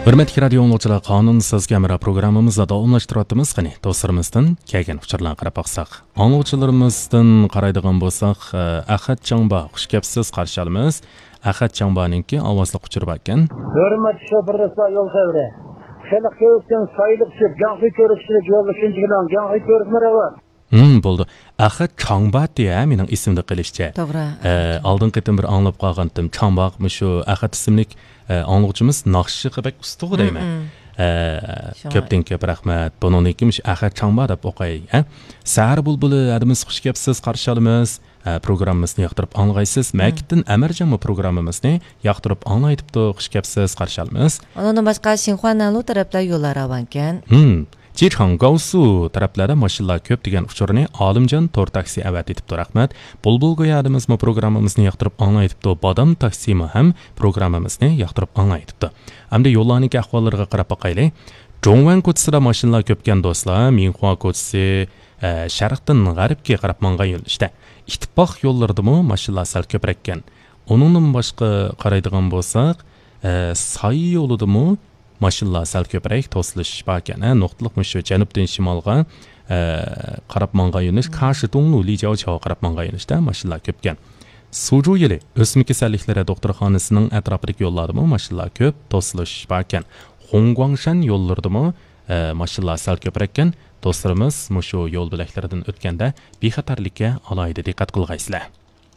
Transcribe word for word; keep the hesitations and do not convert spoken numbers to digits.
ھۆرمەتلىك رادىيو ئاڭلىغۇچىلار، قانۇن سىزگە ھەمراھ پروگراممىمىزنى داۋاملاشتۇرۇۋاتىمىز. قېنى، دوستلىرىمىزدىن كەلگەن ئۇچۇرلارغا قاراپ باقساق. ئاڭلىغۇچىلىرىمىزدىن قارايدىغان بولساق، ئە، ئەخەت چاڭبا، خۇش كەپسىز، قارشى ئالىمىز. ئەخەت چاڭبانىڭكى ئاۋازلىق ئۇچۇرى باركەن. ھۆرمەتلىك شوپۇر دوستلار، يول خەۋىرى. خەلق كۆرۈكتىن سايلىق چۈشۈپ، گاڭخۇي كۆرۈكچىسىنى يوللىشىنچى بىلەن گاڭخۇي كۆرۈكمە رەۋا. ھىم، بولدى. ئەخەت چاڭباتى، ھە، مېنىڭ ئېسىمدە قېلىشىچە. توغرا. ئە، ئالدىنقى قېتىم بىر ئاڭلاپ قالغانتىم. چاڭباق، مۇشۇ ئەخەت ئىسىملىك، ئە، ئاڭلىغۇچىمىز ناخشىغا بەك ئۇستىغۇ دەيمەن. مم. ئە، شۇڭا كۆپتىن كۆپ رەھمەت. بۇنىڭدىن كېيىن مۇشۇ ئەخەت چاڭبا دەپ ئوقاي، ھە. سەھەر بۇلبۇلى، ھەدىمىز خۇش كەپسىز، قارشى ئالىمىز. ئە، پروگراممىمىزنى ياقتۇرۇپ ئاڭلىغايسىز. مم. مەكىتتىن ئەمەرجانمۇ پروگراممىمىزنى ياقتۇرۇپ ئاڭلايتىپتۇ، خۇش كەپسىز، قارشى ئالىمىز. ئۇنىڭدىن باشقا شىنخۇا نەنلۇ تەرەپلەر يوللار راۋانكەن. ھىم. جىچاڭگاۋسۇ تەرەپلەردە ماشىنىلار كۆپ دېگەن ئۇچۇرنى ئالىمجان تور تاكسى ئەۋەتىۋېتىپتۇ، رەھمەت. بۇلبۇل گويا ھەدىمىزمۇ پروگراممىمىزنى ياقتۇرۇپ ئاڭلايتىپتۇ، بادام تاكسىمۇ ھەم پروگراممىمىزنى ياقتۇرۇپ ئاڭلايتىپتۇ. ئەمدى يوللارنىڭكى ئەھۋاللىرىغا قاراپ باقايلى. جوڭۋەن كوچىسىدا ماشىنىلار كۆپكەن دوستلار، مىنخۇا كوچىسى، ئە، شەرقتىن غەربكە قاراپ ماڭغان يۆنىلىشتە. ئىتتىپاق يوللىرىدىمۇ ماشىنىلار سەل كۆپرەككەن. ئۇنىڭدىن باشقا قارايدىغان بولساق، ئە، ساي يولىدىمۇ ماشىنىلار سەل كۆپرەك توسۇلۇش باركەن. ھە، نۇقتىلىق مۇشۇ جەنۇبتىن شىمالغا، ئە، قاراپ ماڭغان يۆنىلىش، كاشىتۇڭلۇ لىجاۋچاۋغا قاراپ ماڭغان يۆنىلىشتە ماشىنىلار كۆپكەن. سۇجۇ يىلى ئۆسمە كېسەللىكلىرى دوختۇرخانىسىنىڭ ئەتراپىدىكى يوللاردىمۇ ماشىنىلار كۆپ توسۇلۇش باركەن. خۇڭگۇاڭشەن يوللىرىدىمۇ، ئە، ماشىنىلار سەل كۆپرەككەن. دوستلىرىمىز مۇشۇ يول بۆلەكلىرىدىن ئۆتكەندە بىخەتەرلىككە ئالاھىدە دىققەت قىلغايسىلەر.